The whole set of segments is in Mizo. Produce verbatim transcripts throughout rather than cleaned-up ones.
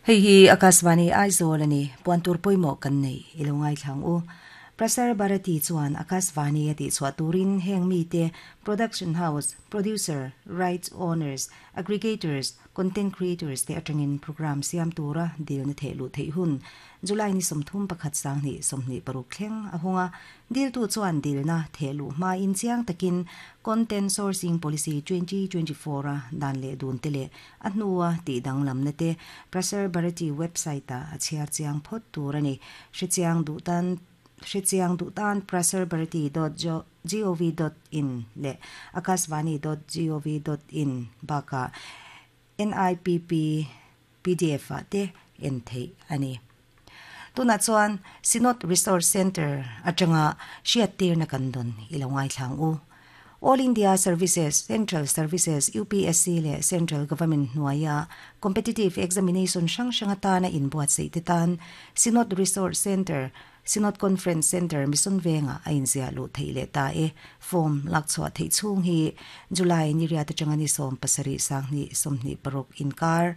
Hei hi Akashvani Aizawl ani puan tur pawimawh kan nei ilo ngai thlang u Prasar Bharati chuan Akashvani a tih chhuah turin heng mi te production house producer rights owners aggregators content creators te atangin program siam tura dil na theh lu thei hun July ni sawmthum pakhat sang hnih sawmhnih paruk thleng a hunga dil tu chuan dil na theh lu hma in chiang takin content sourcing policy twenty twenty four a dan leh dun te leh a hnua tih danglam na te Prasar Bharati website a a chhiar chiang phawt tur ani hrechiang duh tan hrechiang duh tan prasarbharati dot gov dot in leh akashvani dot gov dot in baka N I P P P D F a te en thei ani. Tuna chuan Synod Resource Center atanga hriat tir na kan don ilo ngai thlang u. All India Services, Central Services, U P S C le Central Government hnuaia competitive examination hrang hrang atana inbuat sei te tan Synod Resource Center, Synod Conference Center, Mission Venga a inzia lu thei le ta e. Form lak chhuah thei chhung hi July ni riat atanga ni sawm pasarih sang hnih sawmhnih paruk inkar,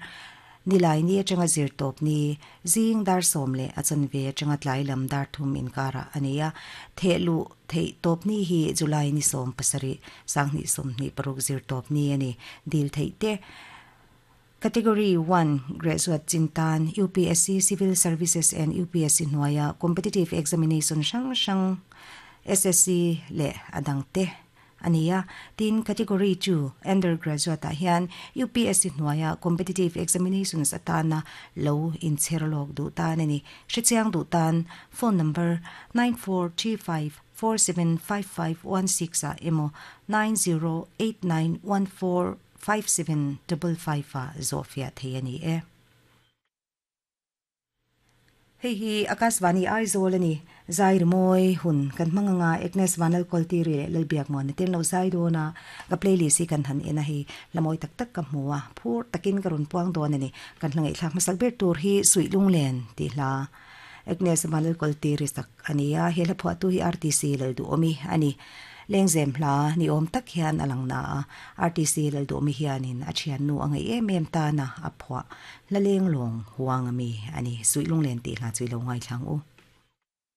nilai ni atanga zir tawp ni zing dar sawm leh a chanve atanga tlai lam dar thum inkara ania. Thehlu thei tawp ni hi July ni sawm pasarih sang hnih sawmhnih paruk zir tawp ni ani. Dil thei te: Category one graduate chintan U P S C Civil Services and U P S C hnuaia competitive examination hrang hrang, S S C le adang te ania. Tin, category two undergraduate ah hian U P S C hnuaia competitive examinations atana lo incherlok du tan ani. Hrechiang du tan phone number nine four three five four seven five five one six a emaw nine zero eight nine one four five seven five five a zofia thei ani e. Hei hi Akashvani Aizawl ani. Zai moi hun kan manganga Agnes Vanal Koltiri le lalbiak mo ni tin lo zai do na ka playlist hi kan han ena hi lamoi tak tak ka hmuwa phur takin karun puang don ani. Kan hlangai thlak masak ber tur hi Sui Lunglen ti hla Agnes Vanal Koltiri sak ania. He la phwa tu hi R T C lal du omi ani. Lengzem hla ni om tak hian alang na a R T C lal du omi hianin a thian nu angai em em ta na a phwa la leng long huang ami ani. Sui Lunglen ti hla chui lo ngai thlang u.